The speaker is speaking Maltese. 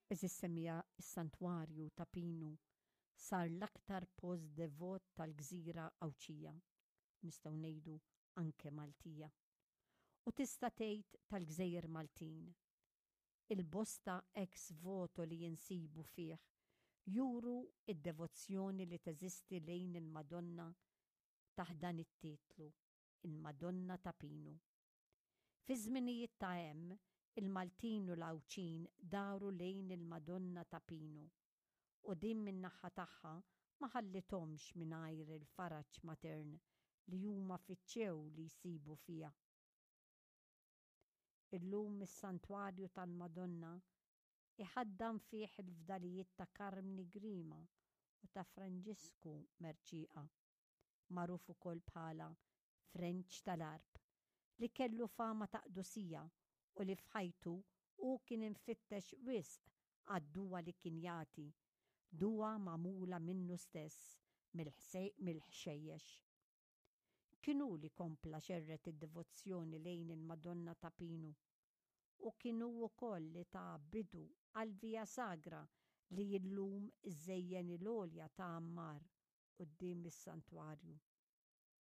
Għeżież semmiegħa s-Santwarju ta' Pinu sar l-aktar post devot tal-gżira Għawdxija, nistgħu ngħidu anke Maltija. U tista' tgħid tal-gżejjer Maltin. Il-bosta ex voto li insibu fih juru d-devozzjoni li teżisti lejn il-Madonna taħt dan it-titlu, il-Madonna ta' Pinu. Fiż-żminijiet ta' hemm, il-Maltin u l-Għawdxin daru lejn il-Madonna ta' Pinu u din min-naħa tagħha ma ħallithomx mingħajr il-faraġ matern li huma fittxew li jsibu fiha. Illum is-Santwarju tal-Madonna iħaddan fih il-fdalijiet ta' Karmni Grima u ta' Franġisku Mercieca, magħruf ukoll bħala Frenċ tal-Għarb, li kellu fama ta' qdusija u li f'ħajtu hu kien imfittex wisq għad-duwa li kien jagħti, duwa magħmula minnu stess mill-ħxejjex. Kien hu li kompla xerred id-devozzjoni lejn il-Madonna ta' Pinu u kien hu wkoll li ta bidu għall-Via Sagra li illum iżżejjen il-għolja ta' Għammar quddiem is-santwarju.